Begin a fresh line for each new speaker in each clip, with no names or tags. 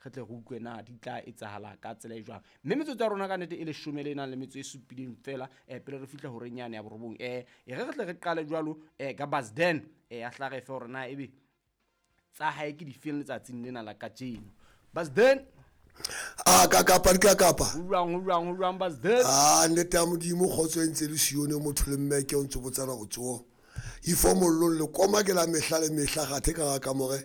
Re tle re utlwe na di tla etsahala ka tsela e jwang. Mme metsotso ya rona ka nnete e leshome le nang le metso e supileng fela pele re fihla horeng yane ya borobong. E re re tle re qale jwalo ka Basden a hla re fe hore na ebe tsa hae ke difeng letsatsing lena la kajeno. Basden.
A ka kapa di ka kapa.
Ho jwang, ho jwang, ho jwang Basden?
A nnete ya Modimo kgotso e ntse le sione motho le mme ke o ntse botsana go tsoa. Ifo mollong le koma ke la mehla le mehla gathe ka ga kamore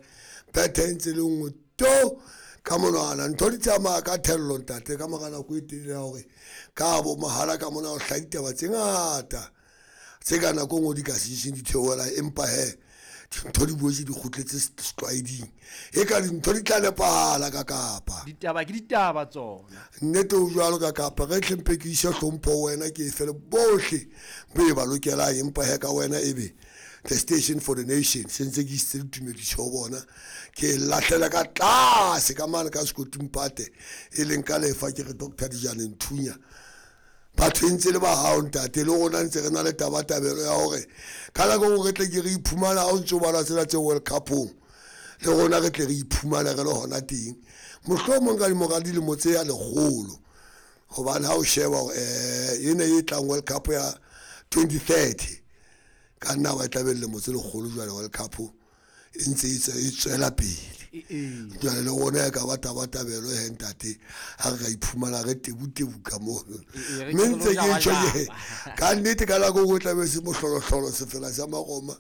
bethe e ntse le nngwe to ka monwana ntho di tsamaya ka thello ntate ka mora nako e telele ya hore ka bo mahala ka mona o hlaha ditaba tse ngata tse ka nako e nngwe di ka seseng di theohela empa he dintho di boetse di kgutletse setlwaeding e ka dintho di tla nepahala ka kapa
ditaba ke ditaba tsona
nnete o jwalo ka kapa ge tlhempe ke ise hlompho ho wena ke e fele bohle bo e ba lokelang empa he ka wena ebe the station for the nation se ntse ke isitse ditumediso ho bona ke e lahlela ka tlase ka mane ka sekoting pate e leng ka lefa ke re Doctor Dijane Nthunya batho e ntse le ba hao ntate le rona ntse re na le tabatabelo ya hore ka nako nngwe re tle ke re iphumana ha o ntse o bala tsena tse World Cupong le rona re tle re iphumane re le hona teng mohlomong ka dimora dilemo tse ya lekgolo hobane ha o sheba hore ena e tlang World Cup ya 2030 ka nna ba tla be lemo tse lekgolo jwale World Cup e ntse e tswela pele jwale le rona e ka ba tabatabelo he ntate ha re ka iphumana re tebutebu ka mono mme ntse ke tjho ke ka nnete ka nako nngwe tlabe se mohlolohlolo sefela sa magoma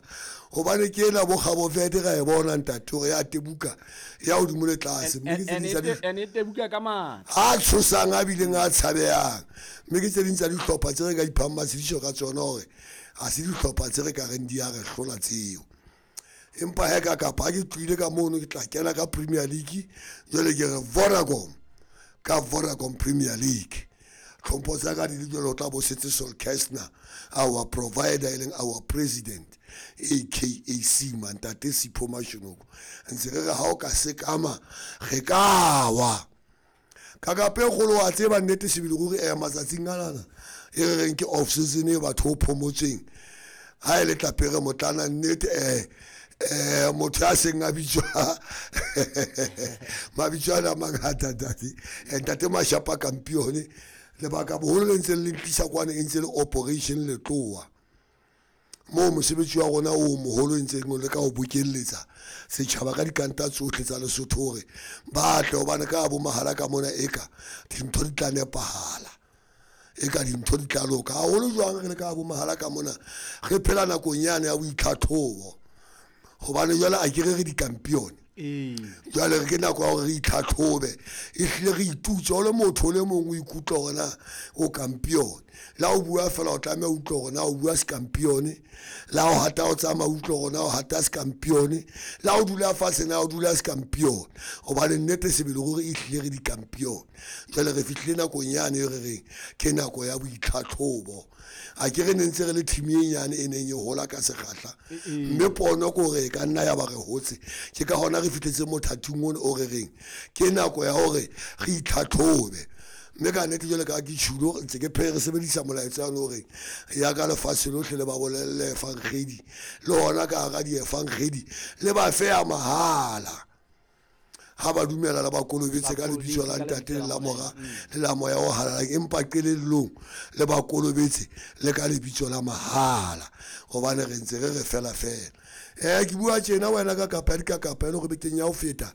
hobane ke ena bo Gabo Verde ra e bona ntate hore ya tebuka ya hodimo le tlase mme ke tse ding tsa di
ene tebuka ka matla
a tshosang a bileng a tshabehang mme ke tse ding tsa dihlopha tse re ka iphang matshediso ka tsona hore ha se dihlopha tse re ka reng di a re hlola tseo empa he ka kapa ha ke tlohile ka mono ke tla kena ka Premier League jwale ke re Vodacom ka Vodacom Premier League tlhompho tsa ka di le jwale o tla bo setse Sol Kestner our provider e leng our president aka Sima ntate Sipho Mashonoko ntse re re ha o ka sekama re ka wa ka kape kgolo wa tseba nnete sebele ruri matsatsing anana e re reng ke off season e batho o phomotseng ha e le tlapere motlana nnete motho ya seng a bitswa mabitso ana a mangata ntate ntate Mashapa Kampione lebaka boholo le ntse le ntlisa kwana e ntse le operation letloa moo mosebetsi wa rona o moholo e ntseng o le ka ho bokelletsa setjhaba ka dikanta tsohle tsa Lesotho hore ba tle hobane ka bo mahala ka mona eka dintho di tla nepahala eka dintho di tla loka haholo jwang re le ka bo mahala ka mona re phela nakong yane ya boitlhatlhobo hobane jwale a ke re re dikampione jwale re ke nako ya hore re itlhatlhobe ehlile re itutse o le motho o le mong o ikutlwa hore na o kampione la o bua fela o tlameha o utlwe hore na o bua sekampione la o hata o tsamaya o utlwe hore na o hata sekampione la o dula fatshe na o dula sekampione hobane nnete sebele ruri ehlile re dikampione jwale re fihlile nakong yane e re reng ke nako ya boitlhatlhobo a ke re ne ntse re le team e nyane e neng e hola ka sekgahla mme pono ke hore e ka nna ya ba re hotse ke ka hona re fihletse mothating ono o re reng ke nako ya hore re itlhatlhobe mme ka nnete jwale ka ke tjhulo ntse ke phe re sebedisa molaetsa ono hore ya ka lefatshe lohle le ba bolelle efankgedi le hona ka hara diefangedi le ba fe ya mahala ha ba dumela le ba kolobetse ka lebitso la ntate le la mora le la moya o halalelang empa qelellong le ba kolobetse le ka lebitso la mahala hobane re ntse re re fela fela ke bua tjena wena ka kapa di ka kapa e le hore bekeng ya ho feta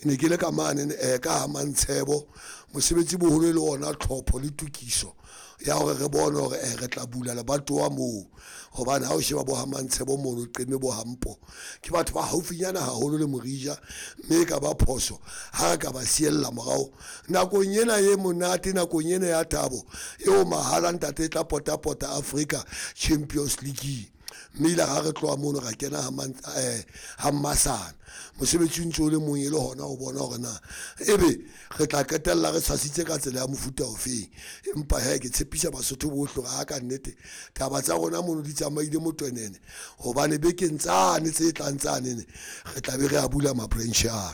ne ke le ka mane ka Mantshebo mosebetsi boholo e le ona tlhopho le tokiso ya hore re bone hore re tla bula lebatowa moo hobane ha o sheba bo ha Mantshebo mono qeme bo hampo ke batho ba haufinyana haholo le Morija mme e ka ba phoso ha re ka ba siella morao nakong ena e monate nakong ena ya thabo eo mahala ntate e tla potapota Africa Champions League mme ile ha re tloha mono ra kena ha Mmasana mosebetsi o ntse o le mong e le hona ho bona hore na ebe re tla qetella re tshwasitse ka tsela ya mofuta ofeng empa he ke tshepisa Basotho bohle hore ha ka nnete taba tsa rona mono di tsamaile motwenene hobane bekeng tsane tse tlang tsanene re tla be re a bula ma-branch ano.